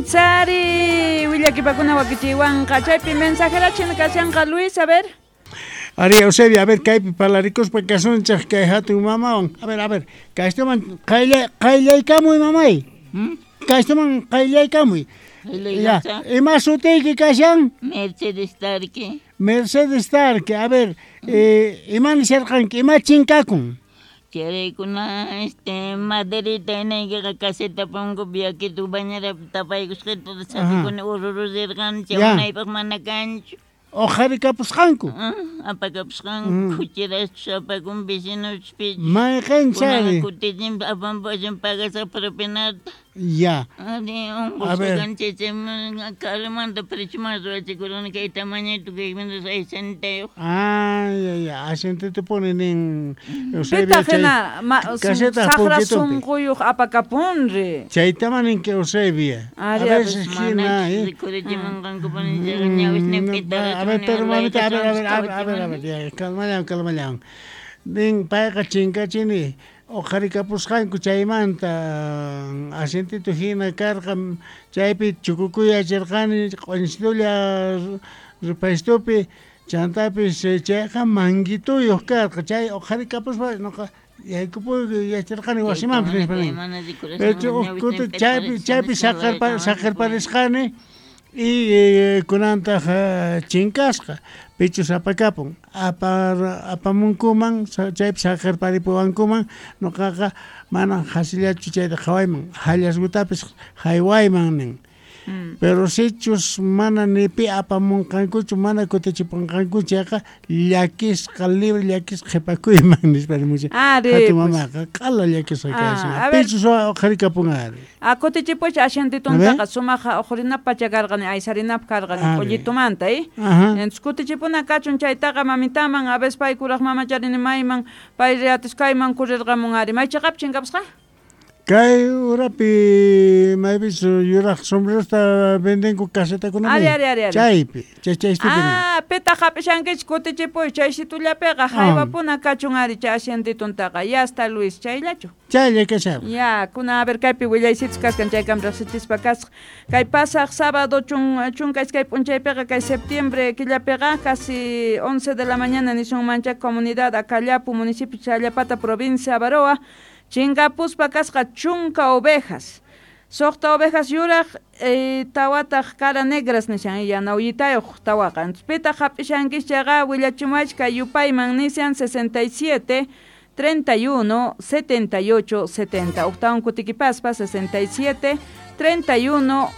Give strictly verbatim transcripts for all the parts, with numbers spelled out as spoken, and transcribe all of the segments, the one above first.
Sari willakipakuna wakichiwanqa chaypi mensajerachin kashanqa Luis, a ver. Ari Eusebio, a ver, kaypi parlarikuspa kasunchej kay hatun mamawan. A ver, a ver, kaystuman qaylla qayllaykamuy mamay. Hmm? Kaystuman qayllaykamuy. Ya, ima sutiyki kashan? Mercedes Tarque. Mercedes Tarque, a ver, eh, ima nisharqanki, ima chinkakun? Charaykuna este maderita inaykiqa caseta punkupi yakitu bañerapi tapaykusqita sapikuna urururirqani chay unaypaq mana kanchu. Uqharikapusqanku? Apakapusqanku, kuchiraschus apakun vecinochus pichus. Mayqin chari? Kutichin apampachin pagasaq propinata. Ya. Ari unqusqa kani chay karumanta prechuman ruwachikurqani kay tamañito kay aychantayuq. Ah, ya, ya, asientitupuni nin Eusebio Pitaq chay hina caseta saqra punkitunpi. Sunquyuq apakapunri. Chaytama ninki Eusebio. A Ari, veces hina, Manachus eh. rikhurichimunqankupuni chayqa ñawisniypi A ver, pero mamita, a ver, a ver, a ver, a ver, a ver, ya, calmallan, calmallan. Nin payqa chinkachini uqharikapusqanku chaymanta asientito hina karqa chaypi chukukuyachirqani q'uñisitulla rupaystupi chantapis chayqa manguituyuq karqa chay uqharikapuspa nuqa yaykupuyku yacharqani wasimanpis nispa nin. Pero uj kuti chaypi chaypi saqerpa saqerparisqani y eh, kunantaq chinkasqa pichus apakapun apar apamunkuman chaypi saqerparipuwankuman nuqaqa mana qhasillachu chayta qhawayman hallasgutapis haywayman nin. Pero sichus mana ni pi apamunqankuchu mana kutichipunqankuchu chayqa llakisqa libre llakisqa qhipakuyman nispa nimuchan. Ari, Hatun pues. mamaqa q'ala llakisqa kashan. Ah, a ver. Pichus uqharikapun ari. A kutichipuch asientituntaqa sumaqa uqrinapaq pacha karqani aysarinapaq karqani Ari. q'ullitumanta, eh? Ajá. Entonces kutichipuna kachun chaytaqa mamitaman a veces pay kuraq mamacharini mayman pay riatisqayman kurirqamun ari. Maychaqapi chinkapusqa? Kay urapi maypis yuraq sombrerosta vendenku casetakunapi. Ari, ari, ari, ari. Chaypi, chay chaystupi nin. Ah, pitaq hap'ishankichik kutichipuy chay situllapiqa haywapuna kachun ari chay asientituntaqa. Ya está Luis, chayllachu? Chaylla kashan. Ya, kuna a ver kaypi willaysitus kaskan chaykam riqsichispa kasqa. Kay pasaq sábado chun chunka iskay p'unchaypiqa kay septiembre killapiqa casi once de la mañana nisunmancha comunidad Acallapu municipio Challapata provincia Avaroa chinkapuspa kasqa chunka ovejas. Suqta ovejas yuraq eh, tawataq cara negras nishan yanawllitayuq tawaqa. Entonces pitaq hap'ishankis chayqa willachimuwachik kay yupayman nishan sesenta y siete treinta y uno setenta y ocho setenta. Octavon kutikipaspa sesenta y siete treinta y uno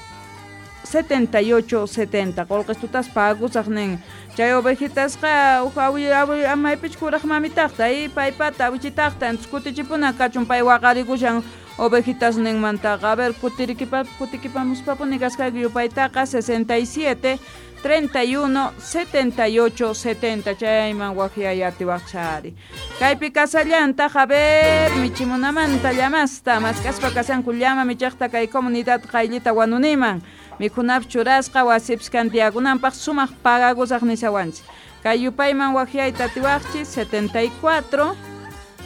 setenta y ocho setenta. Qolqistutas pagusaq nin. Chay ovejitasqa uj awi awi amaypich kuraq mamitaqta y paypata awichitaqta entonces kutichipuna kachun pay waqarikushan ovejitas ninmantaqa. A ver kutirikipa kutikipamuspapuni kasqayku yupaytaqa sesenta y siete treinta y uno setenta y ocho setenta chayman waqyay atiwaqchari. Kaypi kasallantaq a ver michimunamanta llamasta mask'aspa kasanku llama michaqta kay comunidad qayllita wanuniman mikhunapaq churasqa wasipis kantiyakunanpaq sumaq pagagusaq nishawanchik. Kay yupayman waqyayta atiwaqchik setenta y cuatro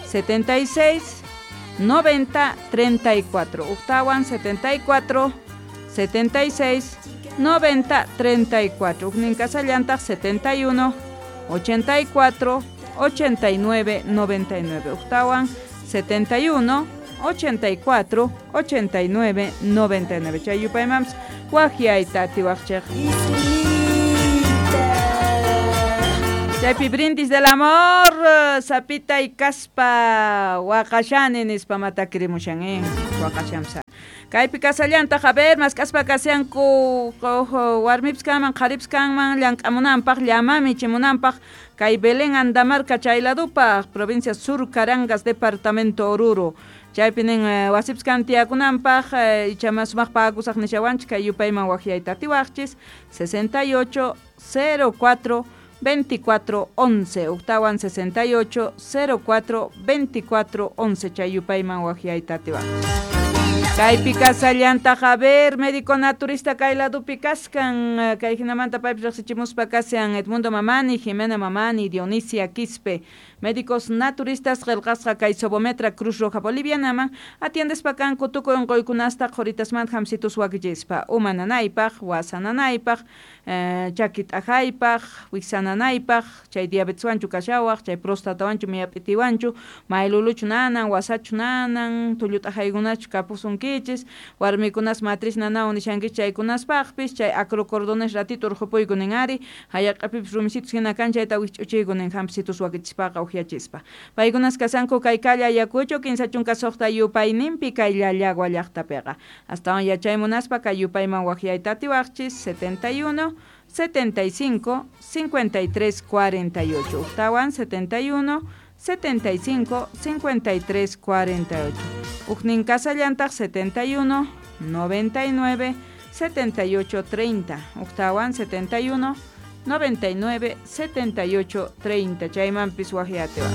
setenta y seis noventa treinta y cuatro. Uqtawan setenta y cuatro setenta y seis noventa treinta y cuatro. Uqnin kasallantaq setenta y uno ochenta y cuatro ochenta y nueve noventa y nueve. Uqtawan setenta y uno ochenta y cuatro ochenta y nueve noventa y nueve. Chay yupaymanpis waqyayta atiwaqchik. Chaypi brindis del amor, sapita y kaspa waqashani nispa matakirimushan, eh? Waqashamsa. Kaypi kasallantaq, a ver, mask'aspa kashanku warmipis kanman, qharipis kanman, llank'amunanpaq, llamami chimunanpaq, kay Belén Andamarca chayladupaq, provincia Sur Carangas, departamento Oruro. Chaypi nin wasipis kan tiyakunanpaq, icha mas sumaq pagusaq nishawanchik, kay yupayman waqyayta atiwaqchis, sesenta y ocho cero cuatro veinticuatro once, octawan sesenta y ocho cero cuatro veinticuatro once, chay yupayman waqyayta atiwaqchis. Kaypi kasallantaq, a ver, médico naturista kay ladupi kaskan, kay hinamanta paypis riqsichimuspa kashan Edmundo Mamani, Jimena Mamani, Dionisia Quispe, médicos naturistas qillqasqa kay Sobometra Cruz Roja Bolivianaman, atiendespa kanku tukuy unquykunasta qhuritasmanta hamsitus wakichispa, uma nanaypaq, wasa nanaypaq, eh, chaki t'ajaypaq, wiksa nanaypaq, chay diabeteswanchu kashawaq, chay prostatawanchu miyap'itiwanchu, mayluluchu nanan, wasachu nanan, tullu t'ajaykunachu kapusunkichis, warmikunas matriz nanawan nishankichis chaykunaspaqpis, chay acrocordones ratito urqupuyku nin ari, hayaq'apipis rumisitus hina kan chayta wikch'uchiyku nin hampisitus wakichispaqa uhyachispa. Paykunas kasanku kay calle Ayacucho, kinsa chunka suqta yupayninpi kay Llallagua llaqtapiqa. Astawan yachay munaspa kay yupayman waqyayta atiwaqchis setenta y uno, setenta y cinco, cincuenta y tres, cuarenta y ocho. Ujtawan setenta y uno, setenta y cinco, cincuenta y tres, cuarenta y ocho. Ujnin kasallantaq setenta y uno, noventa y nueve, setenta y ocho, treinta. Ujtawan setenta y uno, noventa y nueve, setenta y ocho, treinta. Chaymanpis waqyatewa.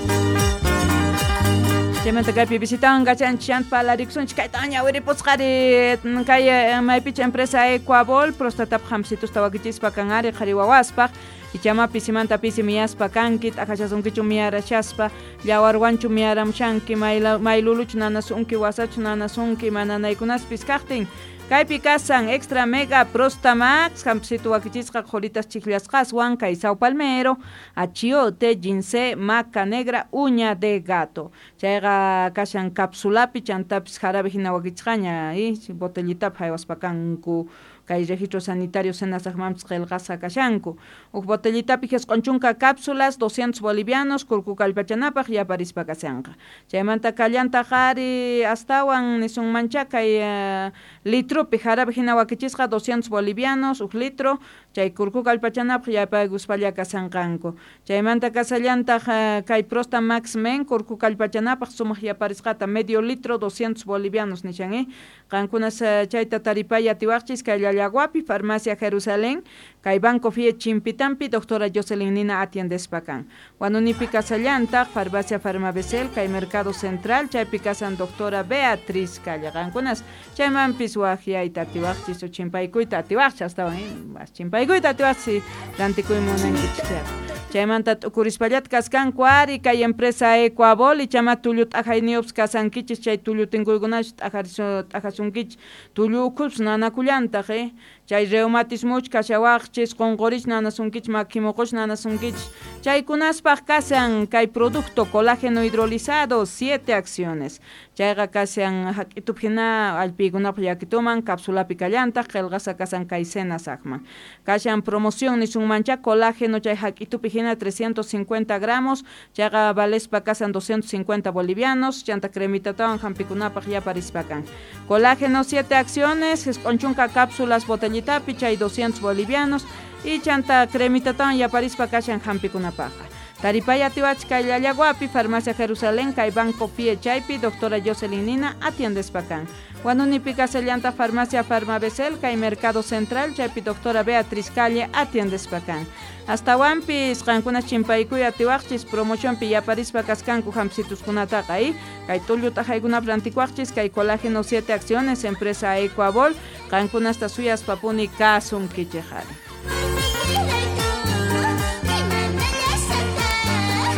Chaymanta kaypi visitawan kachanchis palarikusunchis kayta ñawiripusqari kay maypicha empresa Ecuabol prostatapaq hamsitusta wakichispa kan ari qhari wawaspaq ichama pisimanta pisi miyaspa kanki t'aqashasunkichu miyarashaspa llawarwanchu miyaramshanki mayluluchu nanasunki wasachu nanasunki mananaykunaspis kaqtin kaypi kasan Extra Mega Prostamax hampsitu wakichisqa qhuritas chikllasqaswan kay Sao Palmero, achiote, ginseng, maca negra, uña de gato. Chayqa kashan capsulapi chantapis jarabe hina wakichisqaña y botellitapi haywaspa kanku kay registro sanitario senasaqmanpis qillqasqa kashanku. Uj botellitapi jisq'un chunka cápsulas, doscientos bolivianos, kurku kallpachanapaq yaparispa kashanqa. Chaymanta kallantaq ari astawan nisunmancha kay uh, litropi jarabe hina wakichisqa doscientos bolivianos, uj litro, chay kurku kallpachanapaq yapaykuspalla kashanqanku. Chaymanta kasallantaq uh, kay Prosta Max Men kurku kallpachanapaq sumaq yaparisqata medio litro doscientos bolivianos nishan eh. Qankunas uh, chayta taripay atiwaqchis kay Llallaguapi, Farmacia Jerusalén, kay Banco Fie Chimpitampi, doctora Jocelyn Nina atiendespa kan. Huanunipi kasallantaq, Farmacia Farmabesel, kay Mercado Central, chaypi kasan doctora Beatriz Calle. Qankunas chaymanpis waqyayta atiwaqchis o chimpaykuyta atiwaqchis astawan eh, chimpaykuyta atiwaqchis rantikuy munankichis chayqa. Chaymanta t'ukurispallata kaskanku ari kay empresa Ecuabol ichama tullu t'ajayniyuqpis kasankichis chay tullu tinkuykunachu t'ajasunkichis tullu ukhupis nanakullantaq eh. Chay reumatismuch kashawaqchis qunqurich nanasunkichis makimuquch nanasunkichis chaykunaspaq kasan kay producto colágeno hidrolizado siete acciones chayqa kasan hak'itup hina allpiykunapaq llakituman capsulapi kallantaq qillqasqa kasan kay senasaqman kashan promoción nisunmancha colágeno chay hak'itupi hina trescientos cincuenta gramos chayqa valespa kasan doscientos cincuenta bolivianos chanta cremitatawan hampikunapaq yaparispa kan colágeno siete acciones jisq'un chunka cápsulas botellitapi chay doscientos bolivianos y chanta cremitatawan yaparispa kashan hampikunapaqqa. Taripay atiwach kay Llallaguapi, Farmacia Jerusalén, kay Banco Pie chaypi, doctora Jocelyn Nina atiendespa kan. Huanunipi kasallanta Farmacia Farmabesel, kay Mercado Central, chaypi doctora Beatriz Calle atiendespa kan. Astawanpis qankunas chimpaykuy atiwaqchis promocionpi yaparispa kaskanku hampsituskunataqa eh? Kay tullu t'ajaykunap rantikuaqchis kay colágeno siete acciones empresa Ecuabol qankunasta suyaspapuni kasunkichej ari.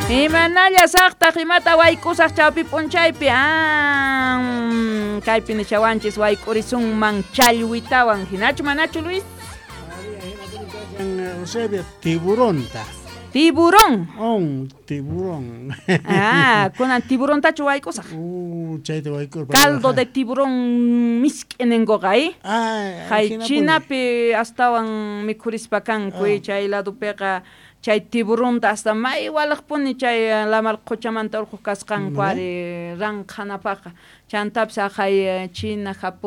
Imanalla saqtaq imata wayk'usaq chawpi p'unchaypi ah, kaypi nishawanchis wayk'urisunman challwitawan hinachu manachu Luis? Eusebio, tiburonta. Tiburón. On, tiburón. Ah, kunan tiburontachu wayk'usaq. Uh, chayta wayk'ur. Caldo de tiburón misk'inenkuqa eh? Ah, hay chinapi astawan mikhurispa kanku ah. Chay ladupiqa chay tiburonta hasta may walaqpuni chay lamar quchamanta urquq kasqanku ari ranqhanapaqqa chantapis aqhay China, Japón